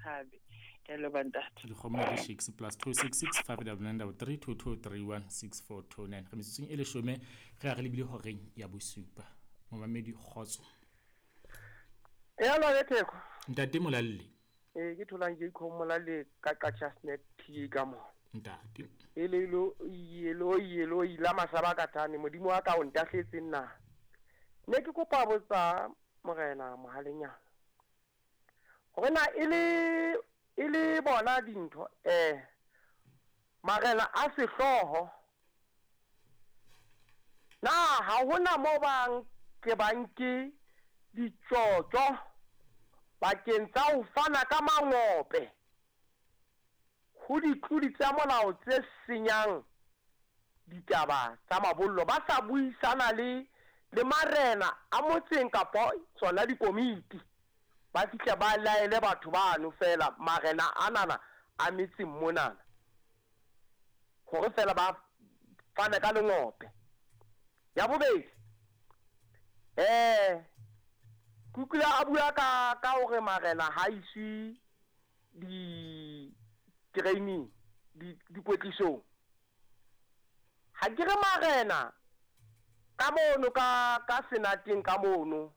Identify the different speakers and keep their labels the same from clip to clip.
Speaker 1: thabe. Ke a leboha ntate.
Speaker 2: Dikgomo di shakes plus 266 599 2231 6429. Re metsotsong e leshome re ya re lebile horeng ya bosupa. Momamedi kgotso.
Speaker 3: E alo le Theko.
Speaker 2: Ntate Molalle.
Speaker 3: Ee, ke tholang Jacob Molalle ka Qacha's Nek TA ka mona.
Speaker 2: Ntate.
Speaker 3: Elelo yelo yelo ila masaba ka thane modimo wa ka o ntahletse nna. Ne ke kopa botsa morena Mohalenyana. Hore na e le bona dintho marena a sehlooho na ha hona mo bang ke banke ditjotjo bakeng tsa ho fana ka mangope ho ditlodi tsa molao tse senyang ditaba tsa mabollo ba sa buisana le marena a motseng kapa tsona dikomiti ba fihla ba laele batho bano fela marena anana a metseng monana hore fela ba fane ka lengope. Ya bobedi, ke utlwile a bua ka hore marena ha iswe di-training, dikwetlisong. Ha ke re marena ka mono ka senateng ka mono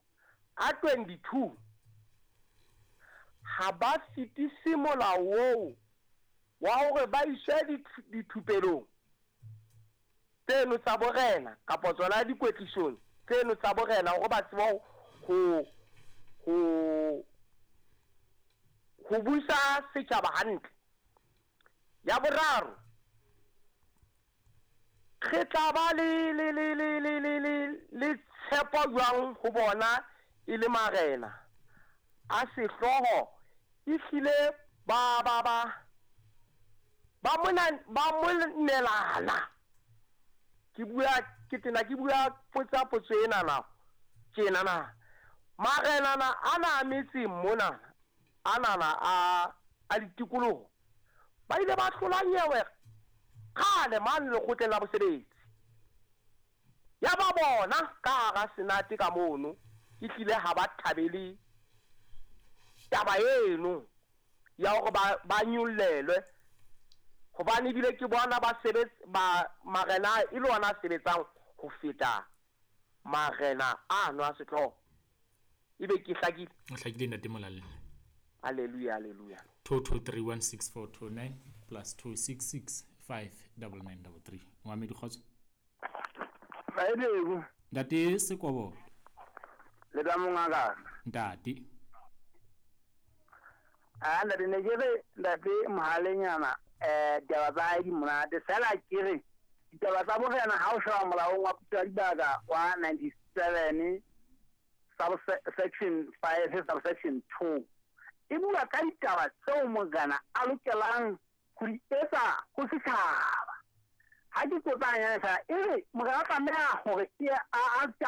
Speaker 3: a 22 ha ba fetise molao oo wa hore ba iswe dithupelong tseno tsa borena kapa tsona dikwetlisong tseno tsa borena hore ba tsebe ho busa setjhaba hantle. Ya boraro, re tla ba le tshepo jwang ho bona e le marena a sehlooho ehlile ba mona ba monelana. Ke bua ke tena ke bua potsa potso ena na tjena na marena na ana a metseng mona anana a ditikoloho ba ile ba hlola nyewe kgale mane lekgotleng la bosebetsi ya ba bona ka hara senate ka mono ehlile ha ba thabele taba eno ya hore ba nyollelwe hobane ebile ke bona ba sebetsa ba marena e le ona a sebetsang ho feta marena ano a sehlooho. Ebe ke hlakile?
Speaker 2: O hlakile ntate Molalle.
Speaker 3: Hallelujah, hallelujah.
Speaker 2: 22316429 plus 266 59933. Moamedi kgotso.
Speaker 4: Maedeko.
Speaker 2: Ntate Sekobo.
Speaker 4: Le ka mongaka.
Speaker 2: Ntate.
Speaker 4: A ntate ne ke re ntate Mohalenyana ditaba tsa hae di monate fela ke re ditaba tsa borena ha o sheba molaong wa puso ya dibaka wa 97 subsection 5 subsection 2 e bua ka ditaba tseo morena a lokelang ho di etsa ho setjhaba. Ha ke qotsanya fela e re morena o tlameha hore a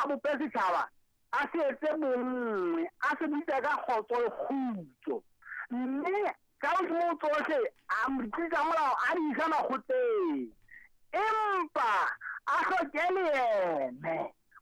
Speaker 4: bope setjhaba, a se etse bonngwe, a se bitse ka kgotso le kgutso, mme ka hodimo tsohle a ditlisa molao a di isa makgotleng, empa a hloke leeme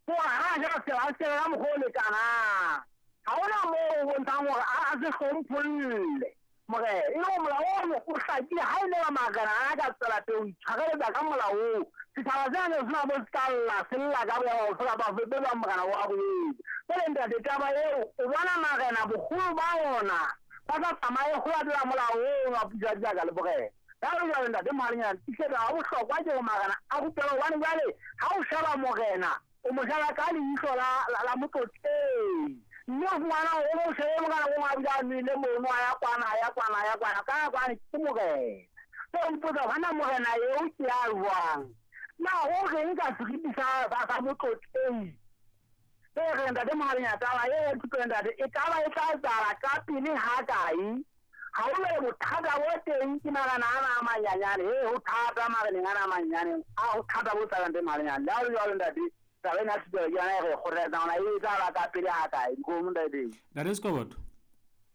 Speaker 4: hore ha a jara setjhaba a se ka mokgwa o lekanang. Ha hona moo o bontshang hore a se hlompholle morena, e le hore molao ono o hlakile. Ha e le ba marena a ka tswela pele ho itshwareletsa ka molao oo, setjhaba sena ne sena bo se ka lla se lla ka boya bofe kapa bofe be bang morena wa boetse. Jwale ntate, taba eo o bona marena boholo ba ona ba sa tsamaye ho latela molao oo wa puso ya dibaka le borena. Jwale jwale ntate Mohalenyana, tiisetsa ha bohlokwa ke hore marena a rupelwe, hobane jwale ha o sheba morena o mo sheba ka leihlo la motlotlehi, mme o fumana hore o shebe morena o mong a bile a nwele mono, a ya kwana, a ya kwana, a ya kwana, ka kwane ke morena. So o ipotsa hona morena eo ke ya jwang na ho reng ka seriti sa motlotlehi? E re ntate Mohalenyana, taba eo ya thuto ntate e ka ba e tla etsahala ka pele ha kae? Ha ho le bothata bo teng ke marena ana a manyanyane, ho thata mareneng ana a manyanyane, a ho thata bo tsabang ntate Mohalenyana. Le ha ho le jwalo ntate, taba ena ya thuto ke yona e re kgothaletsang hore e etsahala ka pele ha kae? Dikgomo ntate.
Speaker 2: Ntate Sekoboto.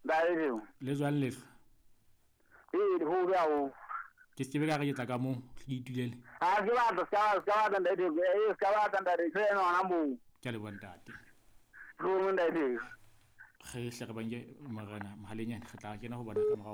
Speaker 4: Ntate.
Speaker 2: Le jwang lehlwa?
Speaker 4: Ee, ho be haholo.
Speaker 2: Ke se ke be ka re ke tla ka moo ke itulele.
Speaker 4: Ha ke batla, se ka batla ntate, se ka batla ntate, se ena hona moo.
Speaker 2: Ke a leboha ntate.
Speaker 4: Dikgomo ntate.
Speaker 2: Re hle re banke morena Mohalenyana, re tla kena ho bona ka morao.